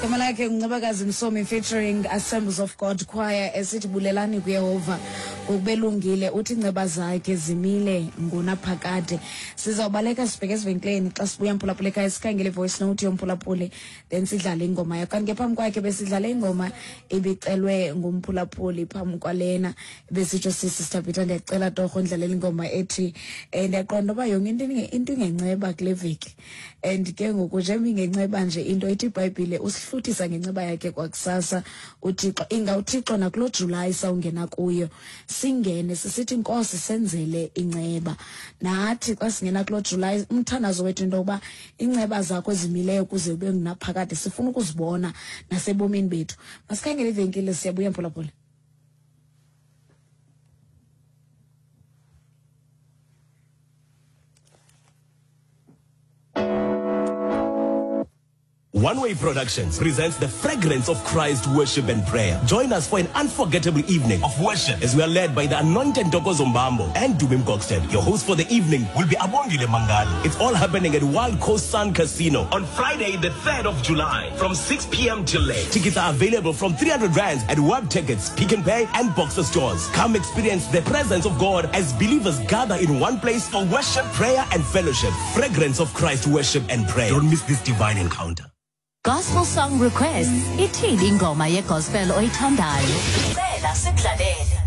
Igama lakhe nguNcebakazi Msomi featuring Assemblies of God Choir esithi bulelani kuYehova ngokubelungile uthi inceba zakhe zimile ngonaphakade. Sizawubaleka sibheke ezivenkileni xa sibuya mphulaphula ekhaya sikhangele i-voice note yomphulaphuli then sidlale ingoma yakho. Kanti ke phambi kwakhe besidlale ingoma ibicelwe ngumphulaphuli phambi kwalena besitsho sisi Sithabitha ndiyacela torho ndidlalela ingoma ethi um ndiyaqonda uba yonke into into ingenceba kule veki. And ke ngoku njengoba ingenceba nje into ithi ibhayibhile usihluthisa ngenceba yakhe kwakusasa uthixo inga uthixo nakuloo julayi sawungena kuyo singene sisithi nkosi senzele inceba nathi xa singena kuloo julayi umthandazo wethu into yokuba inceba zakho ezimileyo kuze ube ngunaphakade sifuna ukuzibona nasebomini bethu masikhangele ivenkile siyabuya mphulaphula. One Way Productions presents the Fragrance of Christ Worship and Prayer. Join us for an unforgettable evening of worship as we are led by the anointed Ntokozo Mbambo and Dubim Gokstad. Your host for the evening will be Abongile Mangali. It's all happening at Wild Coast Sun Casino on Friday, the 3rd of July from 6 p.m. till late. Tickets are available from 300 rands at Web Tickets, Pick n Pay, and Boxer stores. Come experience the presence of God as believers gather in one place for worship, prayer, and fellowship. Fragrance of Christ Worship and Prayer. Don't miss this divine encounter. Gospel song requests. Ithini ingoma yegospel oyithandayo? Cela sikudlalele.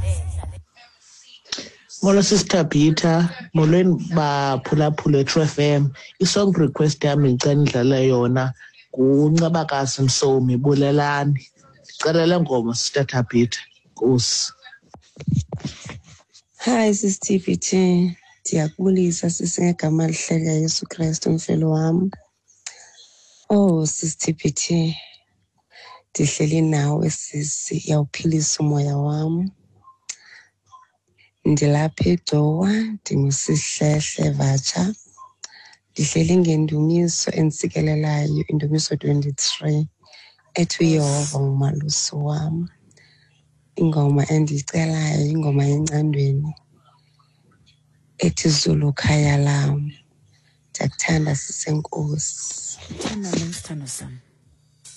Molo Sister Peter, molweni baphulaphula eTrue FM. I-song request yam ndicela nidlale yona nguNcebakazi Msomi Bulelani. Ndicela le ngoma Sister Thabitha. Nkosi. Hi sis TBT, ndiyakubulisa sisi ngegama elihle likaYesu Krestu mfelo wam. Oh sis TBT, ndihleli nawe sisi, uyawuphilisa umoya wam. Ndilapha eGcuwa, ndinguSihlehle Vatsha. Ndihleli ngendumiso enditsikelelayo, indumiso 23 ethi uYehova ngumalusi wam. Ingoma endiyicelayo yingoma yencandweni ethi Zulu khaya lam. Ndiyakuthanda sisenkosi. Thanda nam sithando sam.